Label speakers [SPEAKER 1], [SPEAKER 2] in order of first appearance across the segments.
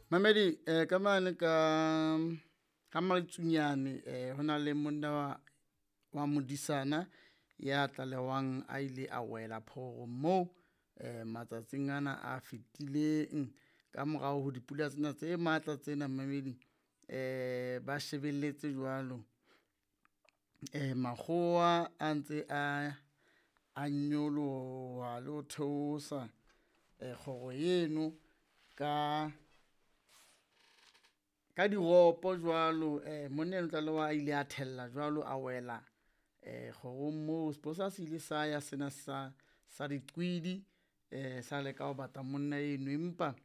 [SPEAKER 1] Mamedi ka mane ka Maletsunyane ho na le monna wa modisana ya tlalehwang a ile a wela phororong moo matsatsing ana a fetileng ka morao ho dipula tsena tse matla tsena mamedi ba shebelletse jwalo. Makgowa a ntse a nyoloha le ho theosa kgoro eno ka diropo jwalo. Monna eno tlalewa a ile a thella jwalo, a wela kgorong moo. Sepolesa se ile sa ya sena sa diqwedi sa leka ho batla monna eno, empa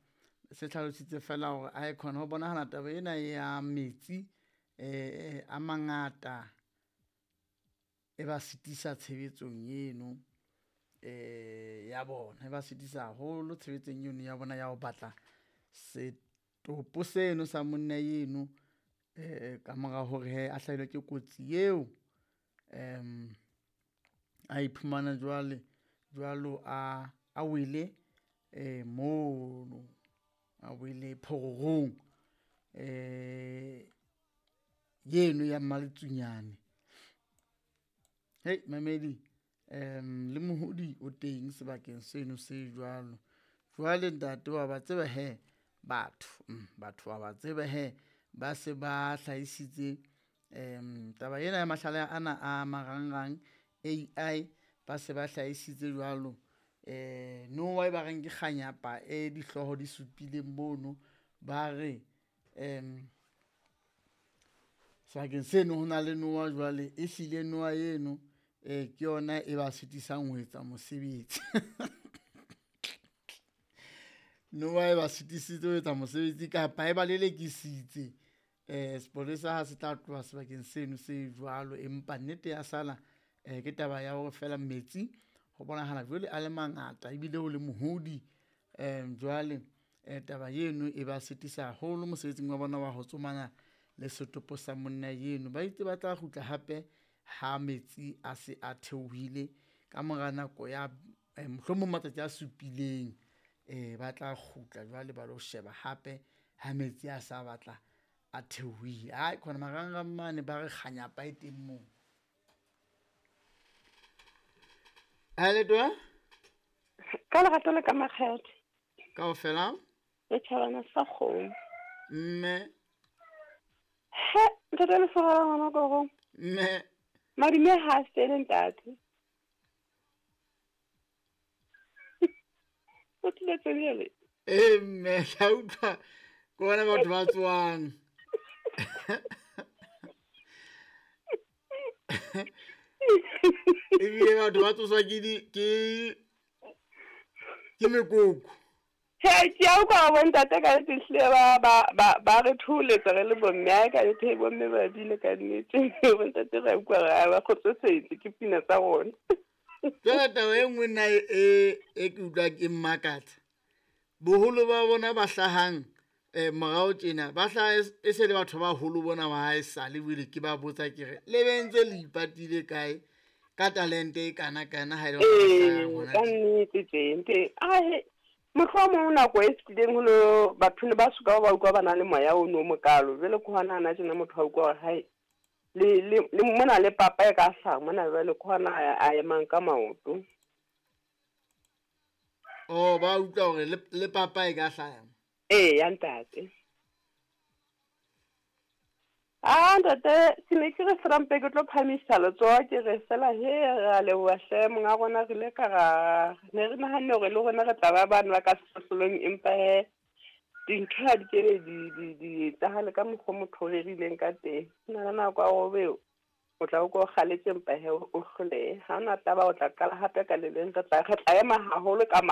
[SPEAKER 1] se hlalositse fela hore aekhona ho bonahala taba ena ya metsi a mangata e ba sitisa tshebetsong eno ya bona, e ba sitisa haholo tshebetsong eno ya bona ya ho batla setopo seno sa monna eno ka mora hore hee a hlahelwe ke kotsi eo. A iphumana jwale jwalo a wele mono, a wele phororong eno ya Maletsunyane. Hei mamedi le mohodi o teng sebakeng seno se jwalo. Jwale ntate wa ba tseba hee batho, batho wa ba tseba hee ba se ba hlahisitse taba ena ya mahlale ana a marangrang AI, ba se ba hlahisitse jwalo nowa e ba reng ke kganyapa e dihloho di supileng mono, ba re sebakeng seno ho na le nowa jwale e hlile nowa eno ke yona e ba sitisang ho etsa mosebetsi. Nowa e ba sitisitse ho etsa mosebetsi kapa e ba lelekisitse sepolesa ha se tla tloha sebakeng seno se jwalo, empa nnete ya sala ke taba ya hore fela metsi ho bonahala jwale a le mangata ebile ho le mohodi. Jwale taba eno e ba sitisa haholo mosebetsing wa bona wa ho tsomana le setopo sa monna eno. Ba itse ba tla kgutla hape ha metsi a se a theohile ka mora nako ya mohlomong matsatsi a supileng, ba tla kgutla jwale ba lo sheba hape ha metsi a sa batla a theohile. Ai khona marangrang mane ba re kganyapa e teng moo. Ha le twa?
[SPEAKER 2] Ka lerato le ka makgethe.
[SPEAKER 1] Kaofela?
[SPEAKER 2] Le tjhabana sa kgomo.
[SPEAKER 1] Mme.
[SPEAKER 2] He, ntate le fora ngwana koro.
[SPEAKER 1] Mme.
[SPEAKER 2] Madume ha sele ntate. O tlile tsebele.
[SPEAKER 1] Eh mme, ka utlwa ke bona batho ba tswang. Ebile batho ba tsoswa ke di ke mekoko.
[SPEAKER 2] He, ke a utlwa bo ntate ka nnete ehlile ba re thoholetsa re le bomme. Ai ka nnete bomme ba bile ka nnete. Bo ntate re a utlwa re ba kgotsofetse ke pina tsa rona.
[SPEAKER 1] Jwale taba e nngwe nna e ke utlwa ke mmakatsa. Boholo ba bona ba hlahang morao tjena ba hlaha e se le batho ba baholo bona ba haesale jwale ke ba botsa ke re le be ntse le ipatile kae ka talente e kana kana ha e le hore
[SPEAKER 2] ka nnete tje nte ahe mohlomong nako e fetileng ho no batho ne ba soka ba utlwa ba na le moya o no mokalo jwale ke hona hana tjena motho a utlwa hore hai le mona le papa e ka hlaha mona jwale ke hona a emang ka maoto.
[SPEAKER 1] Oh, ba utlwa hore le papa e ka hlaha.
[SPEAKER 2] Ee, ya ntate. Ah, ntate, ke ne ke re fela mpe ke tlo phamisa letsoho ke re fela he re a leboha hle monga rona re ile ka ra ne re nahanne hore le rona re tla ba bane ba ka sehlohlolong, empa he dintho ha di kebe di etsahale ka mokgwa motho o rerileng ka teng. Ho na le nako ya hore o tla o ko kgaletse empa he o hlolehe. Ha hona taba o tla qala hape ka le leng, re tla ema haholo ka